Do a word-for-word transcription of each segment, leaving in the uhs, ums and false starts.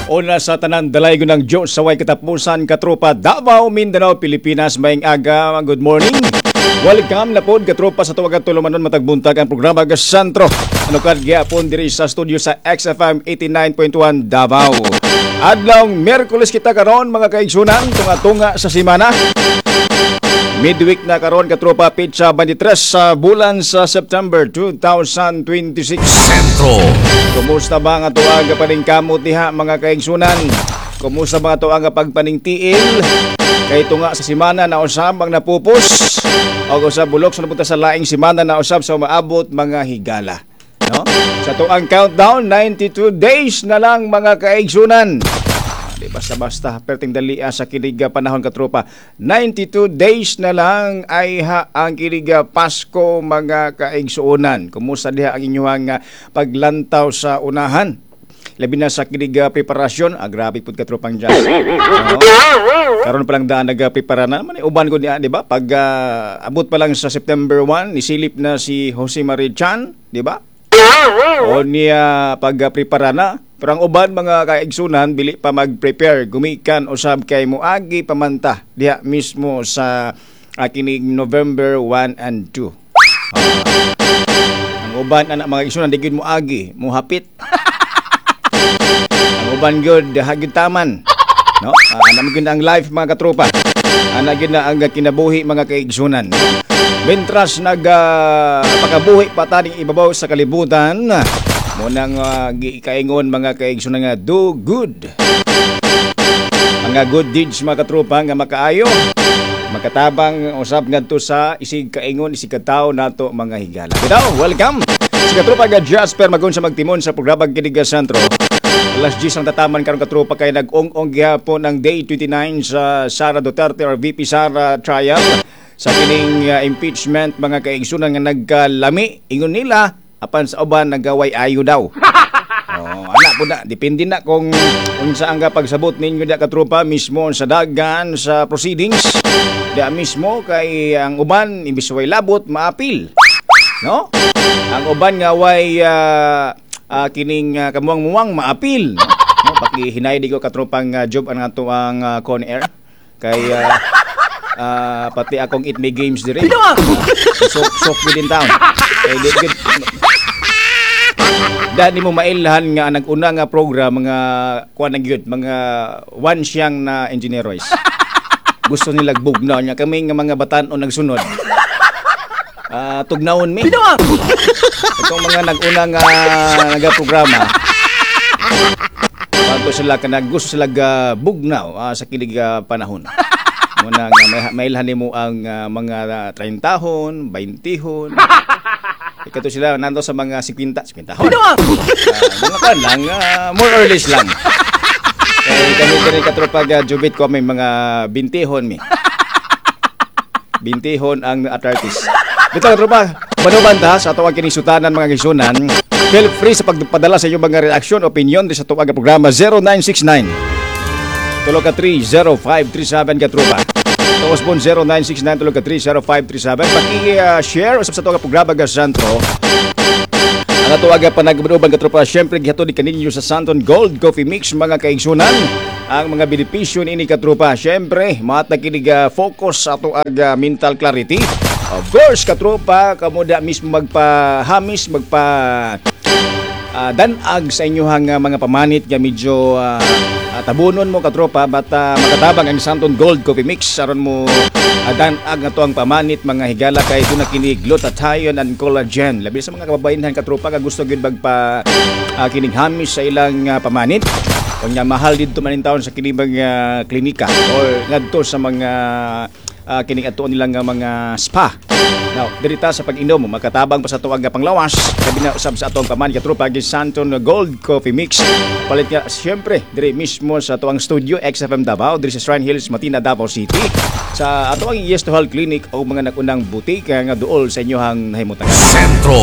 Una sa tanan, dalaygon ng Diyos sa way katapusan, katropa Davao, Mindanao, Pilipinas, maayong aga, good morning. Welcome na pod, katropa, sa tuwag at tulumanon matag buntag, ang programa Gasantro. Ano kad gyapon diri sa studio sa X F M eighty-nine point one Davao. Adlaw Miyerkules kita karon, mga kaigsunan, tunga-tunga sa simana. Midweek na karon, katropa, petsa twenty-three sa bulan sa September twenty twenty-six. Sentro. Kumusta ba nga tuag paningkamot diha, mga kaigsunan? Kumusta ba nga tuag pagpaningtiil? Kay tunga sa simana na usab ang napupos. O sa bulok sa napunta sa laing simana na usab sa umaabot, mga higala. No? Sa tuang countdown, ninety-two days na lang, mga kaigsunan. Di basta-basta, perting dalia sa kiniga panahon, katropa. ninety-two days na lang ay ha ang kiniga Pasko, mga kaigsuonan. Kumusta diha ang inyong ah, paglantaw sa unahan? Labi na sa kiniga preparasyon, ah, grabe pud, katropang jazz. No? Karon pa lang daan nagprepara na man uban ko niya, di ba? Pag ah, abot pa lang sa September one, nisilip na si Jose Mari Chan, di ba? O niya pag-prepara na. Pero ang uban, mga kaigsunan, bili pa mag-prepare gumikan usab kay moagi pamanta diha mismo sa uh, kinig November one and two. Ah, ang uban ana, mga kaigsunan, di gyud mo agi, mo hapit. Ang uban gyud hagid taman. No? Uh, ana gyud ang life, mga katropa. Ana gyud na ang kinabuhi, mga kaigsunan. Mentras nag uh, pakabuhi pa taning ibabaw sa kalibutan, mo nang uh, giikaingon, mga kaigsunan, nga do good. Mga good deeds, mga katropa, nga makaayo, makatabang usab ngadto sa isig kaingon, isig katawo nato, mga higala. Bitaw, welcome. Si katropa ga Jasper Magon sa magtimon sa programa Kiniga Sentro. Alas diyes ang tataman karon, katropa, kay nag-ong-ong gihapon ang day twenty-nine sa Sara Duterte or V P Sara trial sa kining uh, impeachment, mga kaigsunan, nga nagkalami ingon nila, apan sa uban nagaway ayo daw. Oh, ana po na, depende na kung unsa ang pagsabot ninyo da, katropa, mismo sa dagan sa proceedings. Da mismo kay ang uban imbis way labot maapil. No? Ang uban nga way uh, uh, kining uh, kamuang-muang maapil. No? No? Paki hinay di ko, katropang uh, job ang ato ang uh, con air kay uh, uh, pati akong It May Games dire. So so din town. Kay di gid dani mo mailhan nga nag-una nga program mga kuan na gyud, mga one siyang na engineeroys. Gusto nila bugnaw niya kami nga mga batan-on nagsunod. Ah, tugnawon mi. Itong mga nag-una nga nagaprograma. Bago sila kanag gusto sila ga bugnaw ah, sa kilig ah, panahon. Muna nga may, mailhan nimo ang ah, mga trenta hon, twenty hon. Ikato sila nando sa mga fifty, fifty hon. Uh, mga kan lang, ah, more or less lang. Kay kami diri, katropa ga jubit ko, may mga twenty hon mi. twenty hon ang arthritis. Dito, katropa, manuban ta sa atong kinisutanan, mga kaigsunan. Feel free sa pagpadala sa inyong mga reaksyon, opinion di sa tuwag programa zero nine six nine tulo ka three zero five three seven, katropa. Tuos po zero nine six nine tulo ka three zero five three seven. Paki-share usab sa tuwag programa Gasantro. Ang ato aga panagbunuban, katropa, syempre gihatod ni kaninyo sa Santon Gold Coffee Mix, mga kaigsunan. Ang mga benepisyo niini, katropa, syempre, matag kini ga focus sa ato aga mental clarity. Of course, katropa, kamuda mismo magpahamis, magpa ah, danag sa inyong ah, mga pamanit nga medyo ah, ah, tabunon mo, katropa, bata makatabang ang Santon Gold Coffee Mix aron mo uh, danag nga to ang pamanit, mga higala, kay doon na kini glutathione and collagen, labi sa mga kababayenhan, katropa, nga gusto gyud magpa uh, kining hamis sa ilang ah, pamanit. Kung mahal didto man taon sa kini mga klinika or ngadto sa mga uh, kining atuon nilang nga mga spa. Now, dirita sa pag-inom, makatabang pa sa tuwag nga panglawas, labi na usab sa atong paman, katropa, gi Santon Gold Coffee Mix. Palit nga siyempre diri mismo sa tuang studio X F M Davao, diri sa Shrine Hills, Matina, Davao City. Sa atoang Yes to Health Clinic o mga nagunang butika nga duol sa inyohang nahimutangan. Sentro.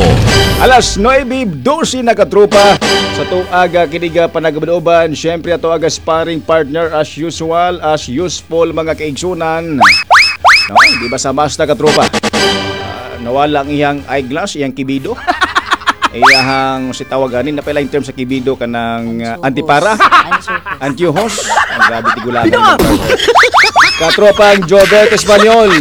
Alas nuwebe dose na, katropa, sa tuaga kiniga panagabanoban. Syempre ato aga sparring partner as usual, as useful, mga kaigsunan. No, di ba sa basta, katropa? Ah, nawala ang iyang eyeglass, iyang kibido. Iyahang si tawag ani na pala in terms sa kibido kanang uh, antipara. Antipara. Antiyuhos. Ang grabe tigulangan. Katropang Jobert Espanyol.